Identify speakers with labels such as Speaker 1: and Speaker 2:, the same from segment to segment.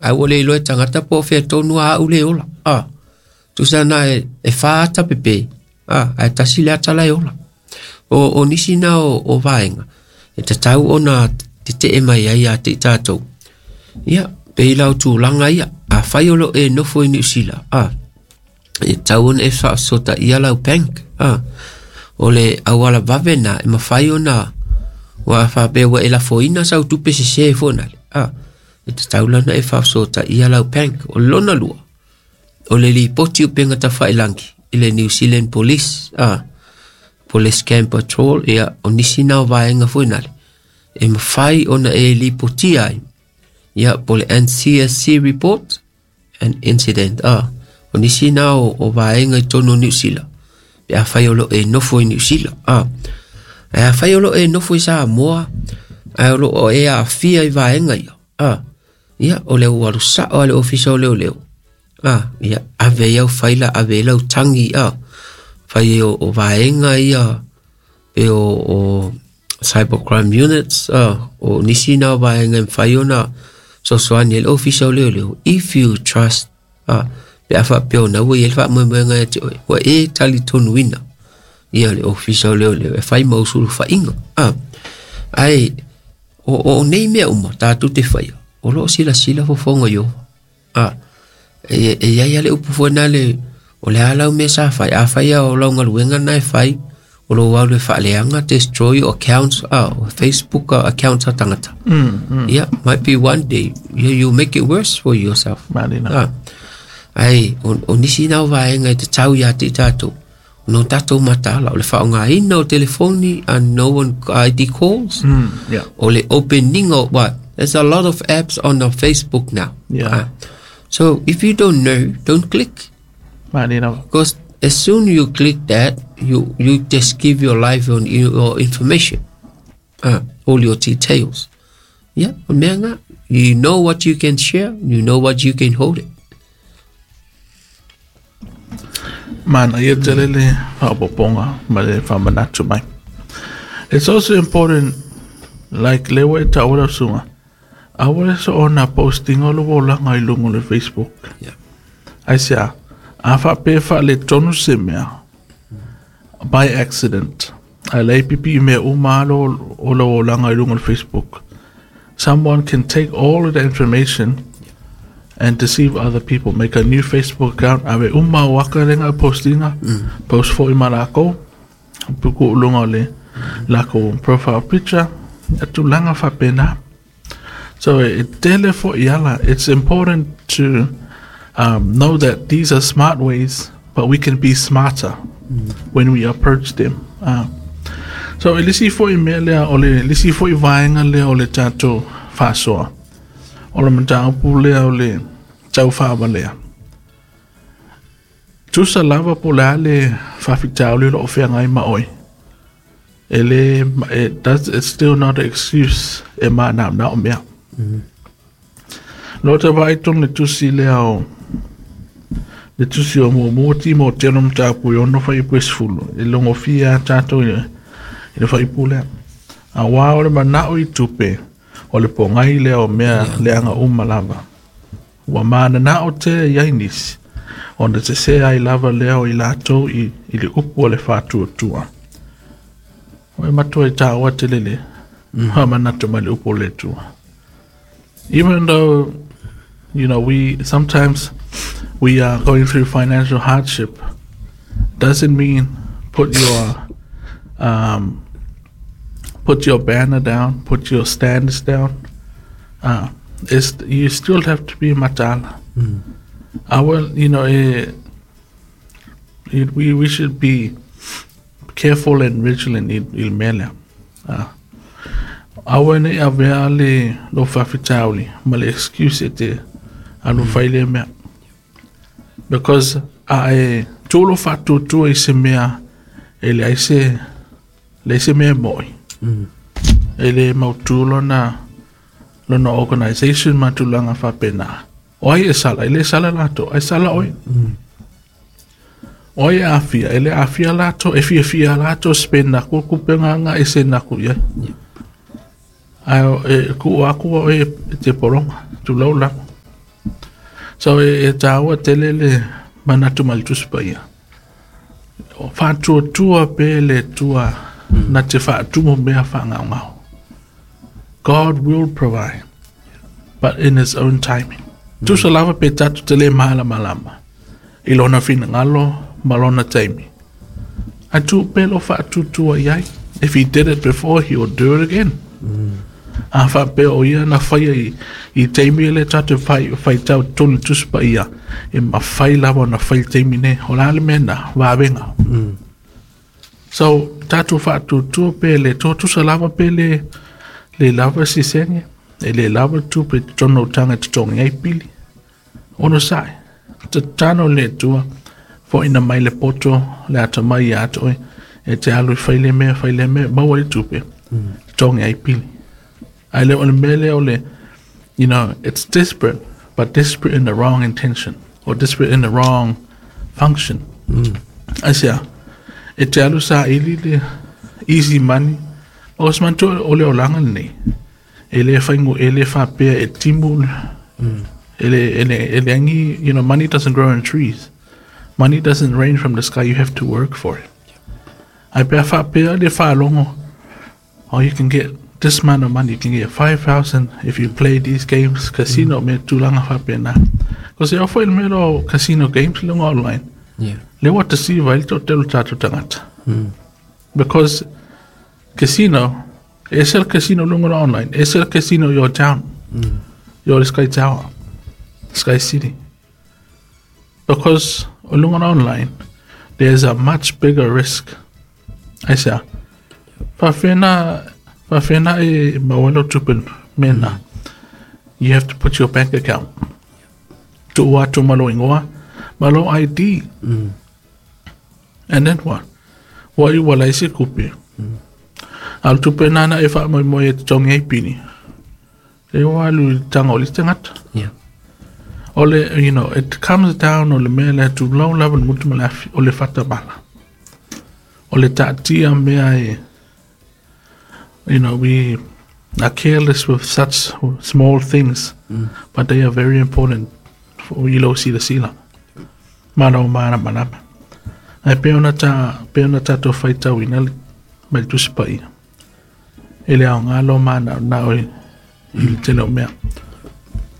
Speaker 1: Ae ua le iloa e tagata po o fea tonu a au le ola. Tusa na e wha ata pepe, ae tasi le ata la e ola. O nisi na o vaenga, e tatau ona te te e mai ai a te i tātou. Ia, pe i lau tūlanga ia, a whai o lo e nofo i Niu Sila, e tau ona e whaasota ia lau bank, o le awala vave na, e mawhai ona, wa whapea wa e lafoina sau tupe se se fona le, e te taulana e whaasota ia lau bank, o lona lua, o le lipoti o penga tawhailangi, i le New Zealand Police, Police Camp Patrol, ia, o nisi nā o vaenga fona le, e mawhai ona e lipoti ai, ia, po le NCSC report and incident, o nisi nā o vaenga i tono New Zealand, pe a whai o lo e nofo i New Zealand, e a whai o lo e nofo i Samoa, a o lo o e a fia i vaenga ia, ia, o le uaru sao a le ofisa o leo leo, ia, ave iau whaila, ave lau tangi, whai o vaenga ia, pe o cybercrime units, o nisi nā vaenga e whai ona, sosoani le ofisa o leo leo, if you trust, pe a whapeo na ua i ele wha moe e te oe, ua e tali tonu ina, ia le ofisa o leo leo, e whai mausuru whainga, ai, o nei mea uma, tātou te whaia, o loo sila sila fofonga yo, e ia le upu fua le, o le alau mea sa whai, a whaia o lau ngaluenga na e whai, o lo wau le whaaleanga, destroy your accounts, Facebook accounts a tangata. Yeah, might be one day, you make it worse for yourself.
Speaker 2: Marina.
Speaker 1: Ai, o nisi nau vaenga i te tau ia te tātou. No tātou matala, o le whaonga ina o telefoni and no one ID calls.
Speaker 2: Yeah.
Speaker 1: O le opening o what? There's a lot of apps on the Facebook now.
Speaker 2: Yeah.
Speaker 1: So if you don't know, don't click.
Speaker 2: Marina.
Speaker 1: Because as soon you click that, you just give your life on your information, all your details. Yeah, you know what you can share, you know what you can hold it.
Speaker 2: Man, ia tele le whaopoponga ma le whamanatu mai. It's also important, like lewa e taura sunga, awale so ona posting o lo langa i lungo le Facebook.
Speaker 1: Yeah.
Speaker 2: Ai sia, a whape wha le tonu se mea, by accident. A le pipi mea umalo o lo langa i lungo le Facebook. Someone can take all of the information and deceive other people. Make a new Facebook account. Ave uma waka lenga postinga. Post for imalako. Puku ulunga le lako profile picture. Atu langa fapena. So it tele for iala. It's important to know that these are smart ways, but we can be smarter when we approach them. So elisi fo imelea ole lisi fo ivaenga le ole tato fasoa. O le mataupu lea o le tau whaamalea. Tusa lava po le ale whawhitau le o whea ma oi. Ele, it's still not an excuse e maa nā nā o mea. Lo te vaitong le tusi lea o le tusi o mua ti mo teno mataupu i ono whaipu e sefulu. E longo fia tātou i le whaipu lea. A wā o le manao i tupe o le pongai lea o mea leanga uma lava. Ua mana na o te iai nisi. Ona te se ai lava lea o i lātou i le upu o le whātua tua. O e matua i tāua te lele. Ha manatu mai le upu o le tua. Even though, you know, we sometimes we are going through financial hardship, doesn't mean put your banner down, put your standards down. It's, you still have to be matala. I will, you know, we should be careful and vigilant il mele. Awa ne avea le lo whawhitauli, ma le excuse e te alu whaile mea. Because a e tōlo whātūtua i se mea e le aise, le se mea moi. E le mautu lona organization matulanga whapena. O ai e sala, e le sala lato, ai sala oi. O ai e awhia, e le awhia lato, e fia fia lato, spend naku, kupenga nga e se naku ia. Ai e ku aku o e te poronga, tu lau lako. So e tāua tele le manatu ma le Tusi Paia. O faatuatua pea le Atua na te faatumu mea faagaogao. God will provide, but in his own timing. Tusa lava pe tatou te le malamalama i lona finagalo ma lona taimi. Ae tuu pea lou faatuatua i ai. If he did it before, he will do it again. A faapea o ia na faia i, i taimi ele tatou whai, whaitau tonu Tusi Paia, e mafai lava ona fai le taimi nei. O le a le mea na? Vavenga. So, tatou faatuatua pe le tusa lava pe le, le lava sisenge, e le lava tupe i totonu o taga e totogi ai pili. Onosai, tatalo le Atua, foina mai le poto, le atamai ia te oe, e te alu e fai lea mea, fai lea mea, maua ai tupe, totogi ai pili. Ae le o le mea lea o le, you know, it's desperate, but desperate in the wrong intention, or desperate in the wrong function. Aisea, e te alu saili le easy money, o se manatua o le olaga lenei, e le whaingo, e le whapea, e timu, e le, e le, e le angi, you know, money doesn't grow in trees. Money doesn't rain from the sky, you have to work for it. Ai pea whapea le whalongo, oh, you can get this amount of money, you can get 5,000 if you play these games, casino, me tūlanga whapea nā. Ko se ofo i le mea o casino games lunga online, le ua te siva i le tō telu tātou tangata. Because casino, e se le casino lunga online, e se le casino your town, your Sky Tower, Sky City. Because lunga online, there's a much bigger risk. Aisea, faafena, faafena e maua ai lau tupe mena. You have to put your bank account. Tuu atu ma lou igoa, ma lou ID. And then what? Ua iu ua leai se kupe. A o le tupe nāna e faamoemoe e totogi ai pili. E o alu i le taga o le isi tagata. O le, you know, it comes down o le mea lea tulou lava le gutu ma le afi, o le fatamala. O le taatia mea e, you know, we are careless with such small things, but they are very important for i lou silasila. Ma lou malamalama. Ae pei ona ta, pei ona tatou faitauina le, mai le Tusi Paia. E le aoga lou manaonao i, i le tele o mea.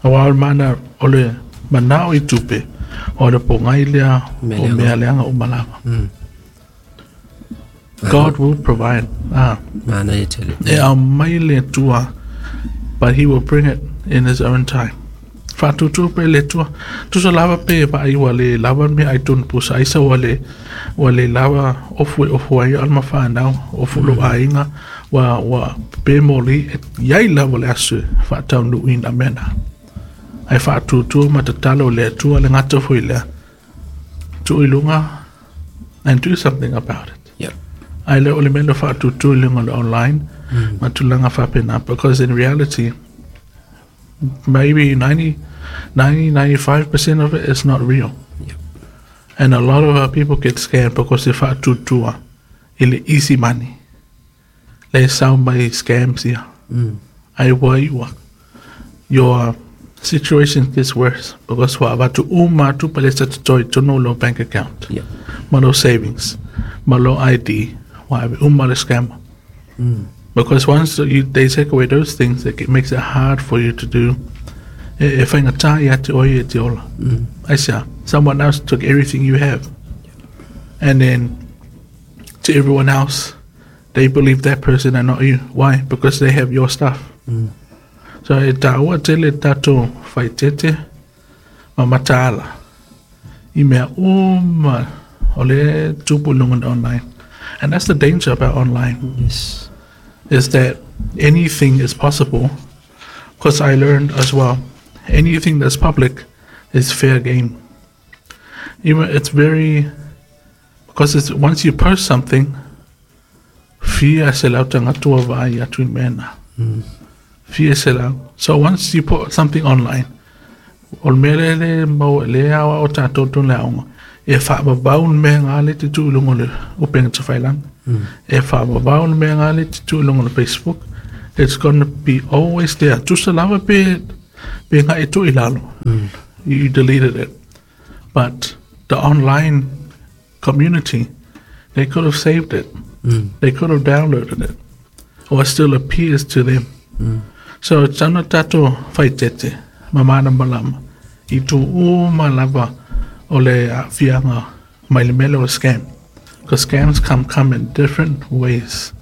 Speaker 2: Aua o le mana, o le manao i tupe, o le pogai lea o mea leaga uma lava. God will provide. Ah.
Speaker 1: Manaia tele.
Speaker 2: E aumai le Atua, but he will bring it in his own time. Faatuatua pea le Atua. Tusa lava pe vaai ua le lava mea ai tonu pusa aisa ua le, ua le lava ofu e ofu ai o le mafanau, ofu lou aiga, ua, ua pe moli, e iai lava le aso e faataunuuina mea na. Ae faatuatua ma tatalo i le Atua le gata foi lea. Tuu i luga and do something about it. Ae le o le mea na faatuatua i luga o le online ma tulaga faapena because in reality maybe 90, 90 95% of it is not real. And a lot of our people get scammed because they faatuatua i le easy money. Le sau mai scams ia. Ai ua iua. Your situation gets worse because ua avatu uma atu pa le sa totoe i totonu o lou bank account. Ma lou savings, ma lou ID, ua ave uma le scammer. Because once you, they take away those things, it makes it hard for you to do. E, e whaingatā ia te oe e te ola. Aisea, someone else took everything you have. And then to everyone else, they believe that person and not you. Why? Because they have your stuff. So e tāua tele tātou whaitete ma mataala i mea uma o le tupu i lunga online. And that's the danger about online. Is that anything is possible. Because I learned as well, anything that's public is fair game. Even it's very, because it's, once you post something, fia se lau tagata ua vaai atu i mea na. Fia se lau. So once you put something online, o le mea lea le mau le aoao tātou tonu le aoga, e faavavau le mea ngā le te tuu i luga o le upega tawhailaga. E faavavau le mea ngā le te tuu i luga o le Facebook. It's gonna be always there. Tusa lava pe, pe ngai e tuu i lalo. You deleted it. But the online community, they could have saved it. They could have downloaded it. Or it still appears to them. So e tatau ona tatou faitete ma malamalama i itu uma lava o le aafiaga mai le mea lea o le scam. Because scams come in different ways.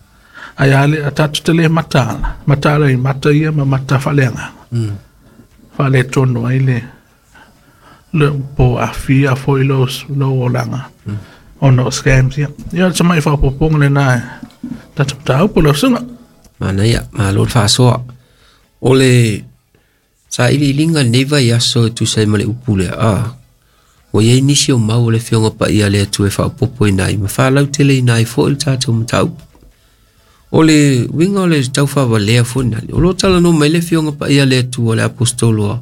Speaker 2: Ae a le, a tatou te le mataala, mataala i mata ia ma mata faaleagaga. Faaletonu ai le, le po aafia foi lou olaga ona o scams ia. Ia, o le tamai faaopoopoga lena e tatou mataupu lau susuga.
Speaker 1: Manaia, malo le faasoa. O le sailiiliga i lenei vaiaso e tusa ai ma le upu lea, a, ua i ai nisi o mau o le Afioga Paia a le Atua e faaopoopoina ai ma faalauteleina ai foi le tatou mataupu. O le uiga o le taufaavalea foi lena, o lo o talanoa mai le Afioga Paia a le Atua le Aposetolo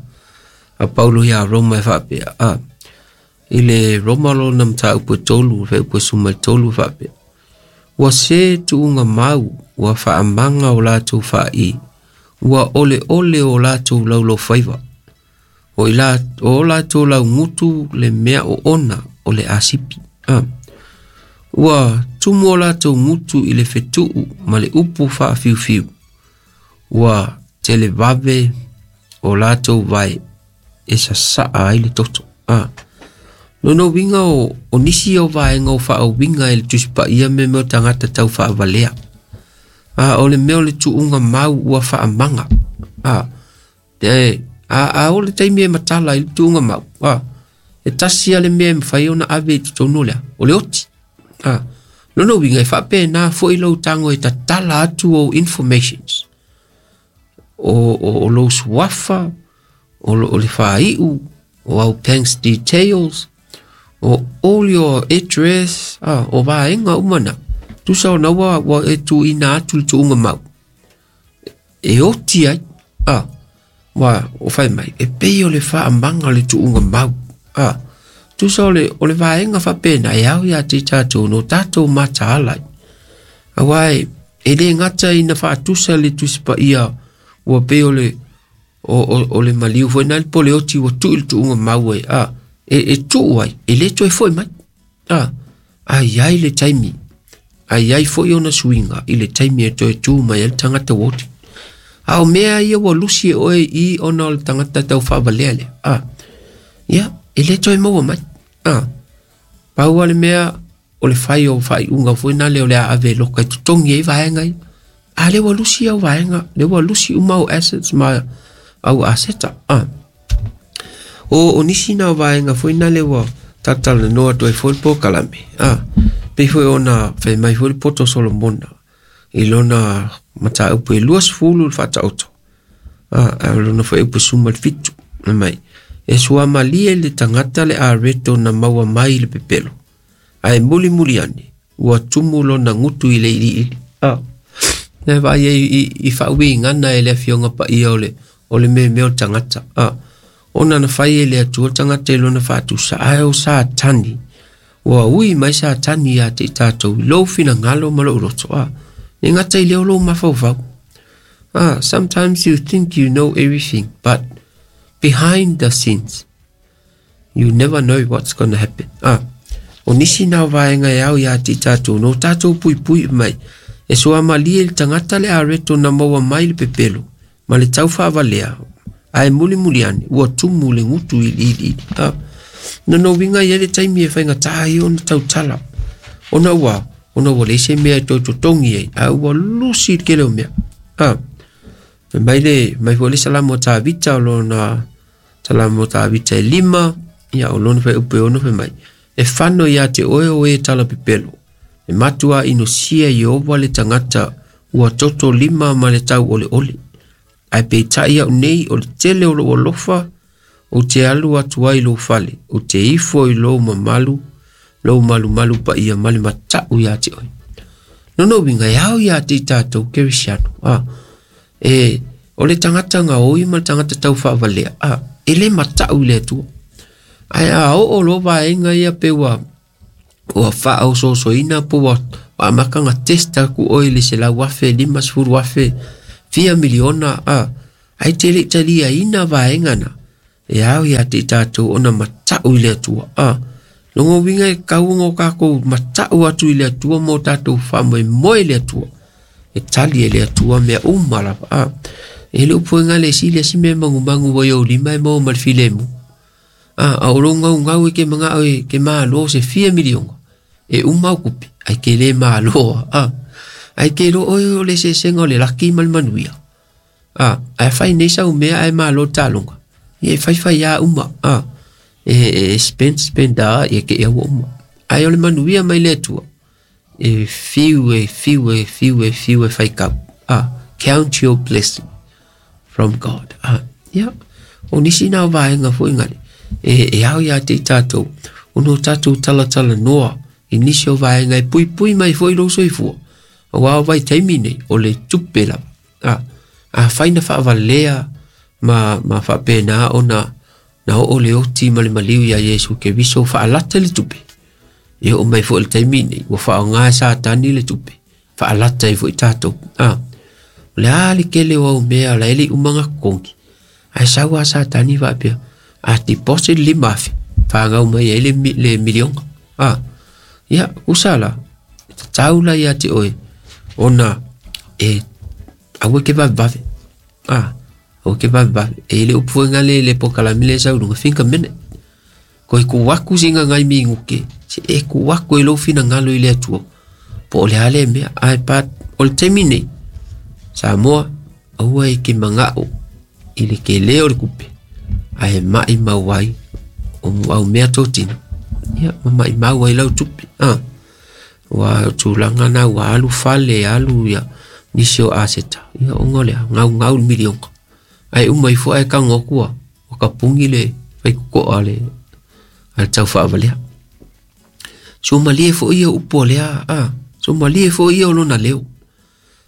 Speaker 1: a Paulo ia Roma e faapea, a, i le Roma lona mataupu e 3, fuaiupu e 13 e faapea, Ua se tuuga mau, ua faamaga o latou faai, ua oleole o latou laulaufaiva. O i la, o latou laugutu le mea oona o le asipi. A. Ua tumu o latou gutu i le fetuu ma le upu faafiufiu. Ua televave o latou vae e sasaa ai le toto. A. Lona uiga o nisi o vaega o faauiga e le Tusi Paia me mea o tagata tau faavalea. A, o le mea o le tuuga mau ua faamaga. A, e, a o le taimi e matala i le tuuga mau. A, e tasi lava le mea e mafai ona ave i totonu o le a, o le oti. A, lona uiga e faapena foi lou tago e tatala atu ou informations. O lou suafa, o le faaiu, o au banks details, o all your address, ah, o vaega uma na. Tusa ona ua e tuuina atu le tuuga mau. E oti ai, ah, ua o fai mai, e pei o le faamaga o le tuuga mau. Ah, tusa o le vaega faapena e ao ia te i tatou no tatou mataala ai. Aua e le gata ina faatusa le Tusi Paia ua pei o le o le maliu foi na le po le oti ua tuu i le tuuga mau ai, a, e tuu ai, e le toe foi mai. A, a i ai le taimi, a i ai foi ona suiga i le taimi e toe tu mai ai le tagata ua oti. A o mea ia ua lusi e oe i ona o le tagata tau faavalea lea, a, ia, e le toe maua mai. A, pau lava le mea o le fai o faaiuga foi na lea o le a ave e loka e totogi ai vaega ia. A lea ua lusi au vaega, lea ua lusi uma au assets ma au aseta. A. O nisi na o vaega foi na lea ua talatalanoa atu ai foi le polokalame. A. Pei foi ona fai mai foi le poto o Solomona i lona mataupu e 20 le faataoto. A, a o lona fuaiupu 17. Fai mai, e suamalie le tagata le areto na maua mai i le pepelo, ae mulimuli ane, ua tumu lona gutu i le iliili. A. Na vaai ai i faauigaga e le Afioga Paia o le memea o le tagata. A. Ona na fai e le Atua le tagata i lona faatusa, ae o Satani, ua ui mai Satani ia te i tatou i lou finagalo ma lou loto. A. E gata i lea o lou mafaufau. A. Sometimes you think you know everything, but behind the scenes, you never know what's gonna happen. A. O nisi na o vaega e ao ia te i tatou, no tatou puipui mai, e suamalie le tagata le areto na maua mai le pepelo, ma le taufaavalea, ae mulimuli ane, ua tumu le gutu i le iliili. A. Lona uiga e i ai le taimi e faigata ai ona tautala, ona ua leai se mea e toe totogi ai, ae ua lusi le tele o mea. A. Fai mai le, mai foi le Salamo a Tavita, o lona Salamo a Tavita e 5, ia o lona fuaiupu e 6 fai mai, e fano ia te oe o e talapepelo, e matua inosia Ieova le tagata ua toto lima ma le tauoleole. Ae peitai au nei o le tele o lou alofa, ou te alu atu ai i lou fale, ou te ifo i lou mamalu, lou malumalu paia ma le matau ia te oe. Lona uiga e ao ia te i tatou Kerisiano, a, e, o le tagata gaoi ma le tagata taufaavalea, a, e le matau i le Atua. Ae a oo loa vaega ia pe ua faaosoosoina po ua amata ona test atu oe i le 100,000, 50,000, fia miliona, a, ae te le i taliaina vaega na, E ao ia te i tātou ona matau i le Atua. Longa uiga e kauga o kākou matau atu i le Atua mo tātou faamoemoe i le Atua. E tali e le Atua mea uma lava. E le upu e gale si le si mea magumagu ua i ou lima e maua ma le filemu. A o lou gaugau e ke mangao e ke malo se fia miliona. E uma au kupe, ai ke le maloa. Ai ke lo oe o le eseesega o le laki ma le manuia. Ae fai nei sau mea ae malo taloga. Ia e faifai a uma. E spend spend a ia ke ia ua uma. Ae o le manuia mai le Atua. E fiu e fiu e fiu e fiu e faikau. Count your blessing from God. Ia, o nisi nā o vaega foi ngale. E ao ia te i tātou. Ono tātou talatala noa i nisi o vaega e puipui mai foi lou soifua. Aua o vaitaimi nei, o le tupe lava. Afai na faavalea ma faapena ona na oo le oti ma le maliu iā Iesu Keriso faalata le tupe. E oo mai foi i le taimi nei, ua faaaoga e Satani le tupe, faalata ai foi tatou. O le a le kele o au mea la e le i uma ona totogi, ae sau lava Satani faapea, a deposit le 5,000, fanau mai ai le miliona. Ia, usa la, e tatau la ia te oe, ona e aua e ke vavevave. Aua e ke vavevave. E le upu foi ngale le pokalame le sau luga, think a minute. Koe ku aku singa ngai minguke, se e ku aku e lou finagalo i le Atua. Po o le a lea mea, ae pa o le taimi nei, Samoa, aua e ke mangao i le kele o le kupe, ae maimau ai o au mea totino. Ia, ma maimau ai lau tupe. Ua tulaga na ua alu fale, alu ia nisi o aseta. Ia, ona o lea, gaugau le miliona. Ae uma ifo ae tago atu ua kapugi le faikokoa a le taufaavalea. Suamalie foi ia upu o lea, suamalie foi ia o lona leo.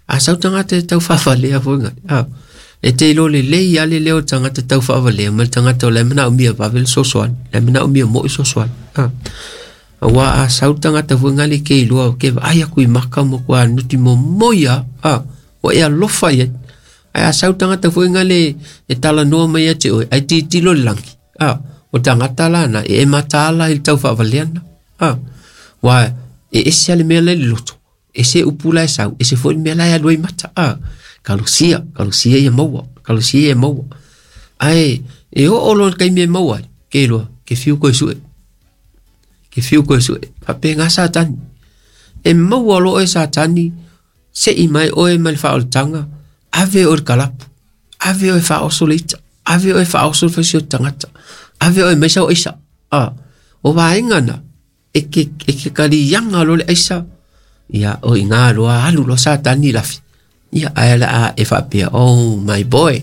Speaker 1: A sau tagata e taufaavalea foi ngai, e te iloa lelei lava le leo o le tagata taufaavalea ma le tagata o la e manaomia vave le fesoasoani, la e manaomia moi le fesoasoani. Aua a sau le tagata foi nai le ke iloa ke vaai atu i maka ma matua nuti momoi lava, ua e alofa i ai. Ae a sau le tagata foi nai le e talanoa mai ia te oe, ae tilotilo i le lagi, o tagata la na e mataala i le taufaavalea lena. Aua e ese lava le mea la e i le loto, ese upu la e sau, ese foi le mea la e alu ai mata. Kalosia, kalosia ia maua, kalosia ia maua. Ae e oo loa i le taimi e maua ai, ke iloa, ke fiu koe sue. Ke fiu koe sue. Faapena Satani. E maua loa oe Satani, sei mai oe mai le faaolataga, ave oe i le kalapu, ave oe faaoso le ita, ave oe faaoso le faisio tagata, ave oe mai sau aisa. O vaega na, e ke kaliaga loa le aisa, ia o i ina loa alu loa Satani i lafi. Ia, ae o le a e faapea, oh my boy,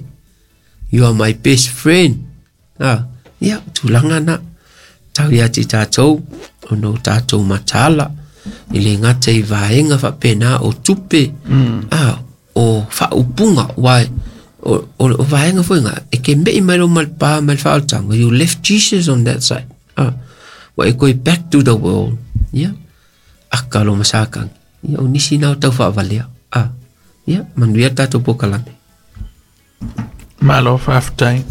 Speaker 1: you are my best friend. Ia, tulaga na, tau ia te i tātou, ona o tātou mataala, i le gata i vaega faapena o tupe, o faaupuga, aua o vaega foi na, e ke mei mai lo ma le pa ma le faaolataga, you left Jesus on that side. Ua e koe back to the world. Ia, aka lo masakagi. Ia, o nisi na o tau faavalea. Ia, manuia le tatou pokalame.
Speaker 2: Malo faafetai.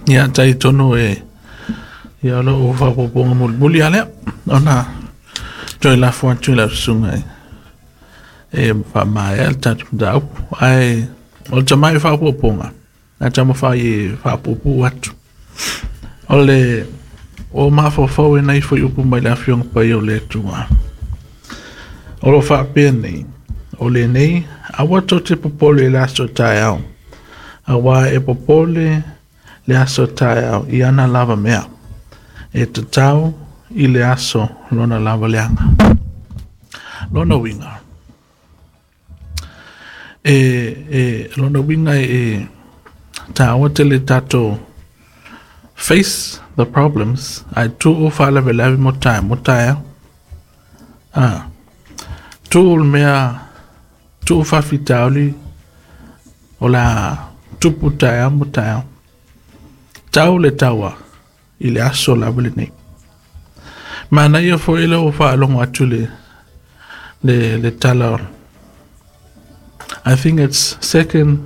Speaker 2: Ia, tai tonu e ia o lou faaopoopoga mulimuli lava lea ona toe lafo atu i lau susuga e faamaea le tatou mataupu. Ae o le tamai faaopoopoga, a taumafai e faapuupuu atu. O le o mafaufau e nai foi upu mai le Afioga Paia o le Atua. O lo o faapea nei, o lenei, aua tou te popole i le aso taeao, auā e popole le aso taeao i ana lava mea, e tatau i le aso lona lava leaga. Lona uiga, e, e, lona uiga e tāua tele tatou face the problems, ae tuu faalavelave mo tae, mo taeao. Ah, tuu le mea, tuu faafitauli o le a tupu taeao mo taeao. Tau le taua i le aso lava lenei. Manaia foi le ua faalogo atu le, le, le tala I think it's Second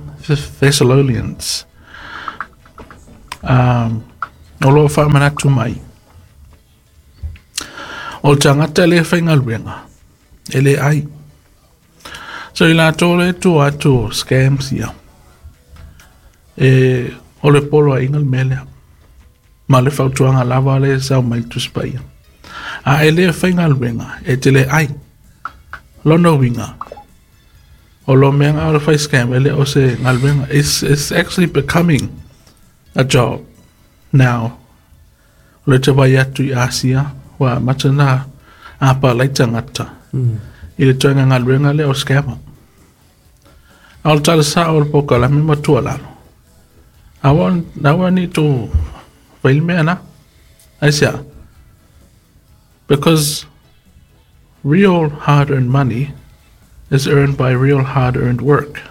Speaker 2: Thessalonians. O lo whaamanatu mai. O tangata le whaingaluenga. E le ai. So i la tō le tō atu scams ia. E o le polo a ingal melea. Ma le fautuanga lava le sau mai tuspaia. A e le whaingaluenga e te le ai. Lono winga. O lo mea o le whai scam e le o se ngaluenga. It's actually becoming a job now. O le te vai atu i Asia. Wa matana a pa lai tangata. I le toenga ngaluenga le o scammer. A o le tala sa o le poka la me matua lalo. Awa ni tō whaile mea na. Aisia. Because real hard-earned money is earned by real hard-earned work.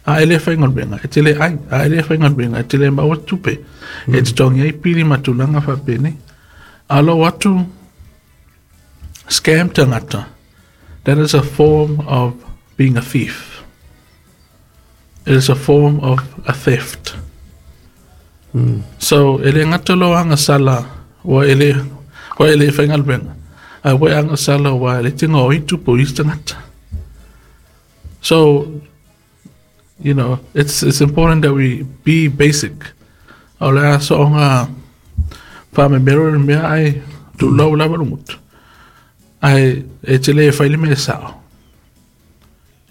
Speaker 2: A ele whaingaluenga, e te le ai, a ele whaingaluenga, e te le maua tupe. E te tongi ai pili matulanga whapene. A lo atu scam tangata. That is a form of being a thief. It is a form of a theft. So, ele ngata lo anga sala wa ele whaingaluenga. A we anga sala wa ele tinga o itu po isi tangata. So, you know, it's important that we be basic. O lea so onga wha me mero mea ai tu lau lava lungut. Ai e te le whaile me sao.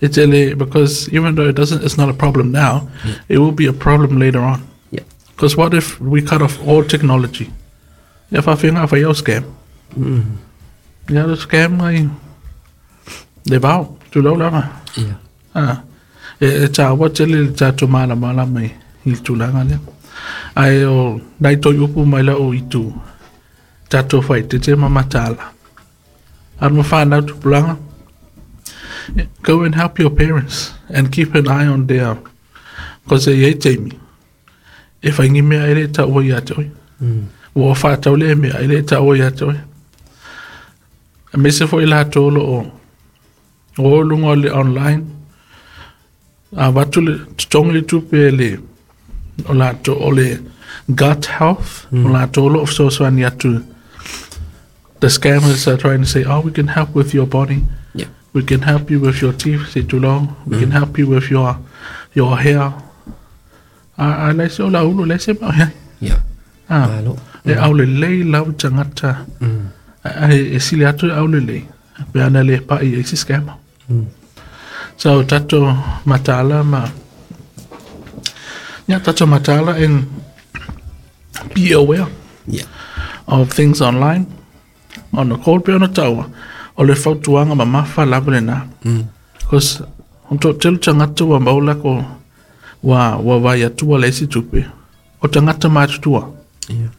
Speaker 2: E te le, because even though it's not a problem now, it will be a problem later on.
Speaker 1: Yeah.
Speaker 2: Because what if we cut off all technology? Ia whawhinga whai au scam. Ia le scam ai le vau, tu lau lava.
Speaker 1: Yeah.
Speaker 2: Ah. E tā wa te le tātou mala mala mai i tūlanga lea. Ai o nai toi upu mai la o itu tātou whai te te mamatala. Arma whānau tupulanga. Go and help your parents and keep an eye on their, because e iei teimi. E whaingi mea e le tāua ia te oi. Ua whātau le mea e le tāua ia te oi. A mese fo i la tōlo o lunga le online. A watu le tongi le tupe le o la tō o le gut health. O la tōlo of soswani atu. The scammers are trying to say, oh, we can help with your body.
Speaker 1: Yeah.
Speaker 2: We can help you with your teeth, say too long. We can help you with your hair. A lai se o la ulu, lai se mau hea.
Speaker 1: Yeah.
Speaker 2: Ah. E au le lei lau tangata. E sili atu au le lei. Pe ana le pa i e si scammer. So tato matala ma. Yeah, tato matala and be aware of things online. On the cold pe ona taua. O le fautuanga ma mawha lava le nā. Because on tō telu tangata wa maula ko wa vai atua le isi tupe. O tangata mātutua.
Speaker 1: Yeah.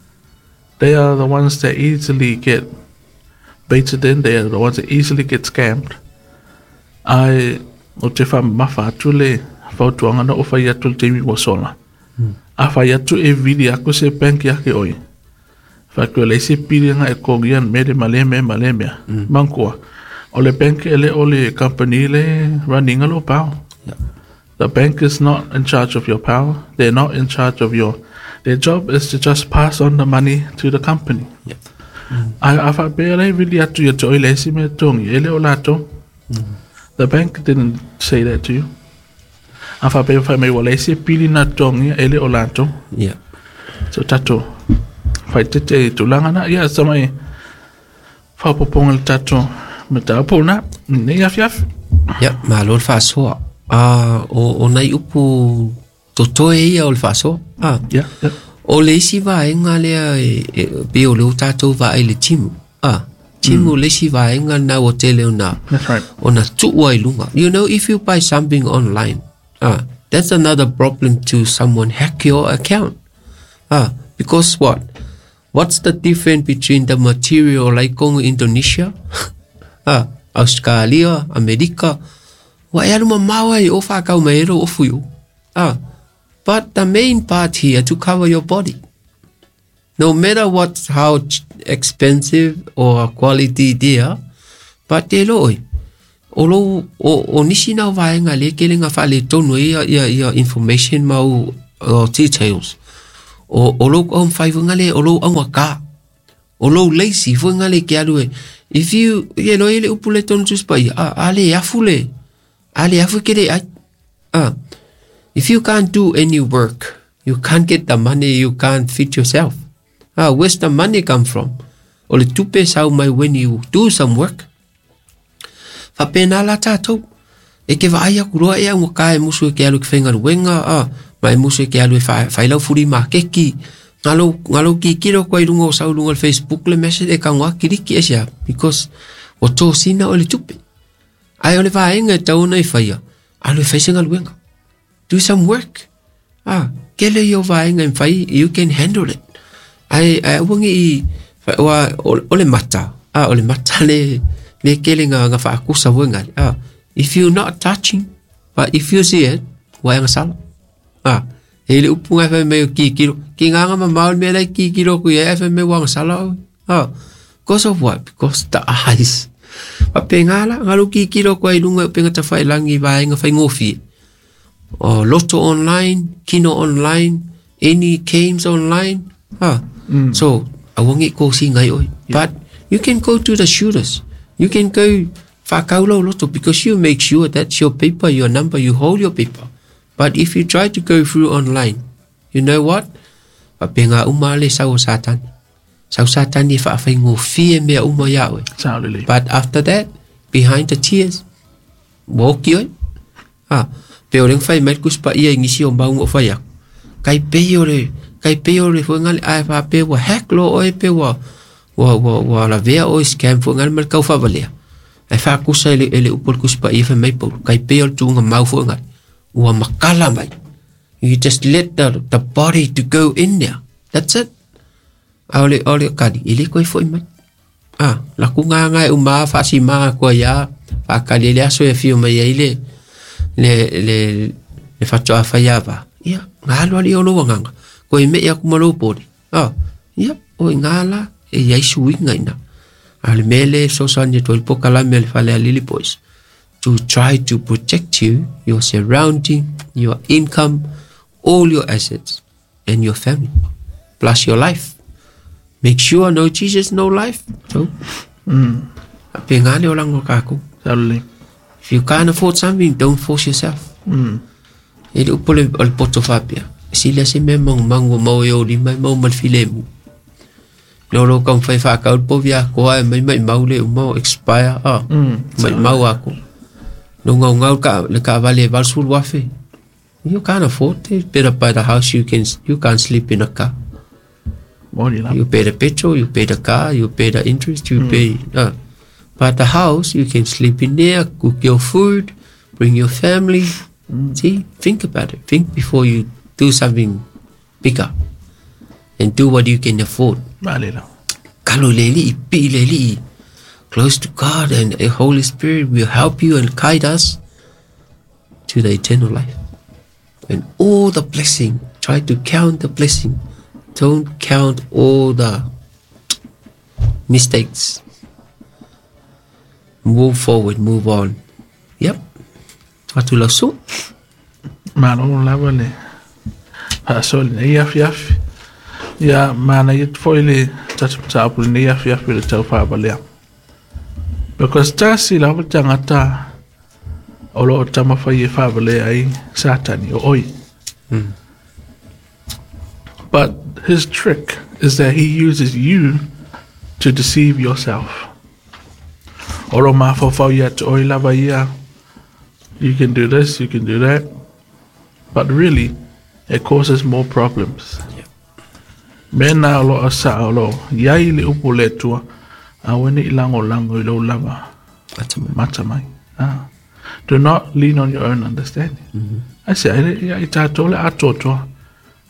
Speaker 2: They are the ones that easily get baited in. They are the ones that easily get scammed. Ai o te wha mawha atu le fautuanga na o whai atu le teimi wa sola. A whai atu e vili ako se bank yake oi. Wha le se pili nga e kongia mere male me male mea. Mangkua. O le bank ele o le company le running a lo power.
Speaker 1: Yeah.
Speaker 2: The bank is not in charge of your power. They're not in charge of your... Their job is to just pass on the money to the company.
Speaker 1: Yeah.
Speaker 2: A wha pea le vili atu ia te oi le si me tongi. Ele o lato. The bank didn't say that to you. A wha pea wha me wa le si pili na tongi ele o lato.
Speaker 1: Yeah.
Speaker 2: So tato. Whai te te tūlanga na, ia sa mai whapoponga le tātou me tā pō nā, nei awhi awhi.
Speaker 1: Ia, malo le whaasoa. O nai upu totoe ia o le whaasoa.
Speaker 2: Yeah, yeah.
Speaker 1: O le isi vaenga lea e pe o le o tātou vaai le timu. Timu le isi vaenga nā o tele o nā.
Speaker 2: That's right.
Speaker 1: O nā tuua i lunga. You know, if you buy something online, that's another problem to someone hack your account. Because what? What's the difference between the material like Congo, Indonesia, Australia, America? Wa e aru mamawa i o whakau mai ero o fuyo. But the main part here to cover your body. No matter what, how expensive or quality there, but te loi. O lo o nisi nau vaenga le kele ngā whale tonu ia information mau details. O lou aumafai foiga lea o lou augakā, o lou lazy foiga le ke alu e. If you, ye lo ele upu le tonu tusi paia, a le afu le, a le afu ke le ai. If you can't do any work, you can't get the money, you can't feed yourself. Where's the money come from? O le tupe sau mai when you do some work. Faapena la tatou. E ke vaai aku loa e augakā e musu e ke alu i ke faigaluega, ma e musu e ke alu e failau fuli makeki. Ngalo kikilo koa i lunga o sau lunga le Facebook le message e kagoa kiliki e sea, because o tosina o le tupe. Ae o le vaega e tau ona i faia, alu e fai se galuega. Do some work. Kele i o vaega e fai, you can handle it. Ae aua nei o le mata, o le mata le kele nga faakusa foiga. If you're not touching, but if you see it, ua e agasala. E le upu ngai fai mai o kikilo. Ki nganga mamao le mea lai kikilo ku ia e fai mai ua agasala oe. Because of what? Because the eyes. Papenga la, ngalo kikilo kua i lunga o penga tawhailangi vaenga whaingofie. O Lotto online, Kino online, any games online. So, awangi ko si ngai oi. But you can go to the shooters. You can go whakaulau lotto because you make sure that's your paper, your number, you hold your paper. But if you try to go through online, you know what? Papenga uma le sau Satan. Sau Satan e whaawhaingofie mea uma ia oe. But after that, behind the tears, woki oi. Pe o leng whai mai kuspa ia ngisi o maunga o whai aku. Kai pei o le whainga le ae wha pe wa hack lo oe pe wa lavea oe scam whainga le kau whawalea. Ai whakusa ele upol kuspa ia whai mai pauru. Kai pei o le tūnga mau whainga. Ua makala mai. You just let the body to go in there. That's it. Aole kari, ele koe foi mai. Laku ngā ngai uma whaasi maa kua ia, whakali le aso e whio mai ai le whatoa whaiawa. Ia, ngā alu ali o loa nganga. Koe me ia kuma pori. Ia, oi ngā la, e iai suinga ina. A le mele sosani toi pokalame le fale alili boys. To try to protect you, your surrounding, your income, all your assets, and your family, plus your life. Make sure no Jesus, no life. So, pengale o lango kako. If you can't afford something, don't force yourself. E le upo le poto whapia. Sila se me mangu mau e o lima mau malfilemu. No lo kau whai whakau povia koa e mai mai mau le umau expire. Mai mau ako. No ngau ngau ka le ka vale valsul wafe. You can't afford it. Better buy the house. You can't sleep in a car. You pay the petrol, you pay the car, you pay the interest, you pay. But the house, you can sleep in there, cook your food, bring your family. See, think about it. Think before you do something bigger, and do what you can afford. Kaloleli, pileli, close to God, and the Holy Spirit will help you and guide us to the eternal life. And all the blessing, try to count the blessing. Don't count all the mistakes. Move forward, move on. Yep. Watu lausu.
Speaker 2: Malo lava le. Paso le yaf yaf. Ya mana yet foile tatu le yaf yaf le tau fa balea. Because tasi lava tangata olo tama fa ye fa balea ai Satani o oi. But his trick is that he uses you to deceive yourself. Olo mafofau ia te oi lava ia. You can do this, you can do that. But really, it causes more problems. Yeah. Mena olo asa olo iai le upu le tua a wene i lango lango i lau lava. Matamai. Do not lean on your own understanding. I say, I tātou le atotoa.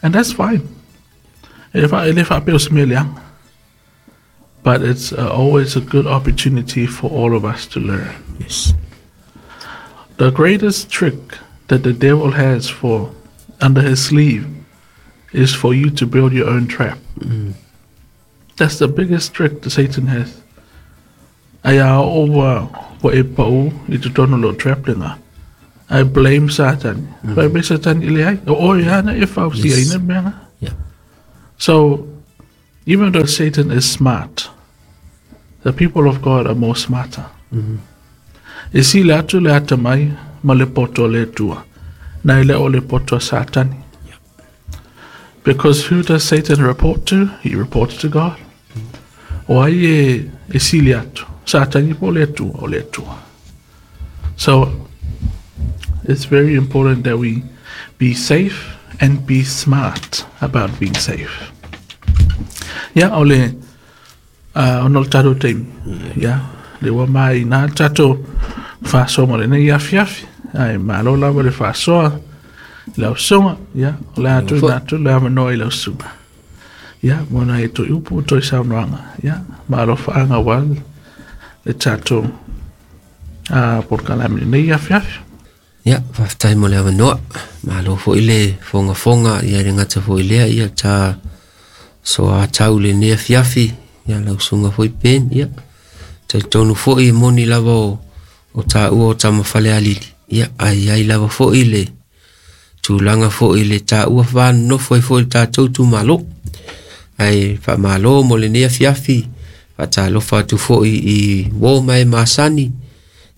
Speaker 2: And that's fine. But it's always a good opportunity for all of us to learn.
Speaker 1: Yes.
Speaker 2: The greatest trick that the devil has for under his sleeve is for you to build your own trap. That's the biggest trick that Satan has. Aya over wa e pau i te tono lo trap lenga. I blame Satan. Blame Satan ile ai. O ia na e fausi ai na mea.
Speaker 1: Yeah.
Speaker 2: So, even though Satan is smart, the people of God are more smarter. E sili atu le atamai ma le poto a le Atua, nai le o le poto a Satani. Because who does Satan report to? He reports to God. O ai e sili atu? Satani po o le Atua? O le Atua. So, it's very important that we be safe and be smart about being safe. Ia, o le ona o le tatou taimi. Ia, le ua mai nā le tatou faasoa mo lenei afiafi. Ae malo lava le faasoa i lau susuga. Ia, o le a tuuina atu le avanoa i lau susuga. Ia, mo nai toe upu, toe saunoaga. Ia, ma alofaaga aua le tatou polokalame i lenei afiafi.
Speaker 1: Ia, faafetai mo le avanoa. Malo foi le fogafoga, ia le gata foi lea, ia ta soatau lenei afiafi, ia lau susuga foi Ben, ia talitonu foi e moni lava o taua o tama Falealili, ia ae i ai lava foi le tulaga foi le taua vanonofo ai foi le tatou itumalo. Ae faamalo mo lenei afiafi, faatalofa atu foi i uo ma e masani,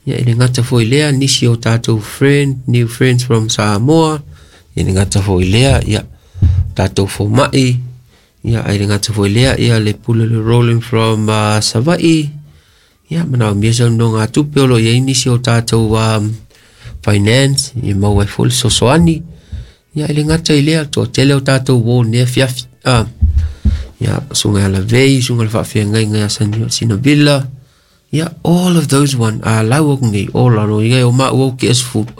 Speaker 1: ia e le gata foi lea, nisi o tatou friend, new friends from Samoa, ia le gata foi lea, ia tatou fomai, ia ae le gata foi lea, ia le pule le rolling from Savaii, ia manaomia se nonogatupe o lo o i ai nisi o tatou finance, ia maua ai foi le fesoasoani, ia e le gata i lea, toatele o tatou uo i lenei afiafi, ia susuga ia Lavei, susuga i le faafeagaiga ia Sinavilla, ia all of those one, a lau aku nei, all alo i ngai o maʻu au ke sefulu,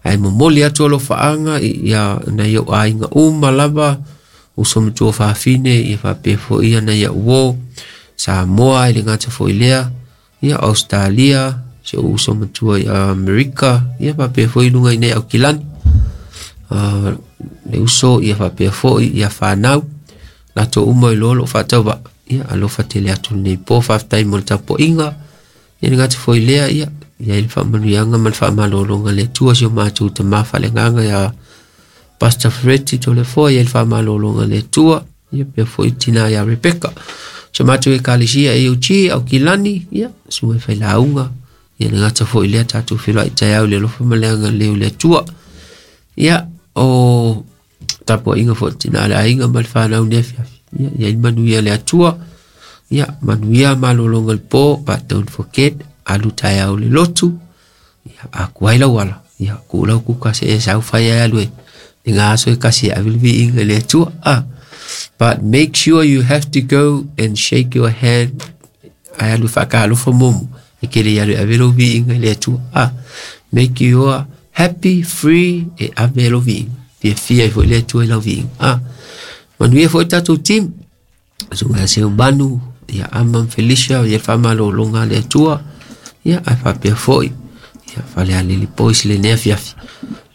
Speaker 1: ae momoli atu alofaaga ia nai ou aiga uma lava, uso ma tuafafine, ia faapea foi ia nai au uo, Samoa e le gata foi lea, ia Australia, si ou uso matua i Amerika, ia faapea foi i luga i nei Aukilani, le uso ia faapea foi ia fanau, latou uma i loa lou faatauvaa, ia alofa tele atu lenei po, faafetai mo le tapuaiga, ia le gata foi lea, ia i ai le faamanuiaga ma le faamalologa a le Atua si o matou tama faaleagaga ia Pastor Fereti Toleafoa, i ai le faamalologa a le Atua, ia pea foi tina ia Rebecca. Si o matou ekalesia AOG Aukilani, ia susuga i failauga, ia le gata foi lea tatou feiloai taeao i le alofa ma le agalelei o le Atua. Ia o tapuaiga foi tina le aiga ma le fanau nei afiafi. Ia i ai le manuia le Atua. Ia manuia malologa i le po, but don't forget, alu taeao i le lotu. Ia a ku ai lau ala, ia ku lau kuka se e sau fai ai alu e i ngā aso e kasi e ave le viiga i le Atua. But make sure you have to go and shake your hand ai alu whaakalofa momo. E kere i alu e ave lou viiga i le Atua. Make you happy, free, e ave lou viiga. Fiafia ai foi le Atua i lau viiga. Manuia foi tatou team. Susuga ia Seu Manu, ia Ama ma Felicia, ia le faamalologa a le Atua. Ia, ae faapea foi, ia Falealili Boys lenei afiafi.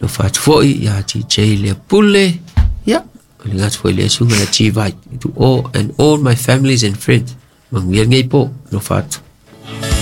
Speaker 1: Alofa atu foi ia TJ Leapule, ia, o le gata foi lea susuga ia G-Vai. To all and all my families and friends. Manuia lenei po, alofa atu.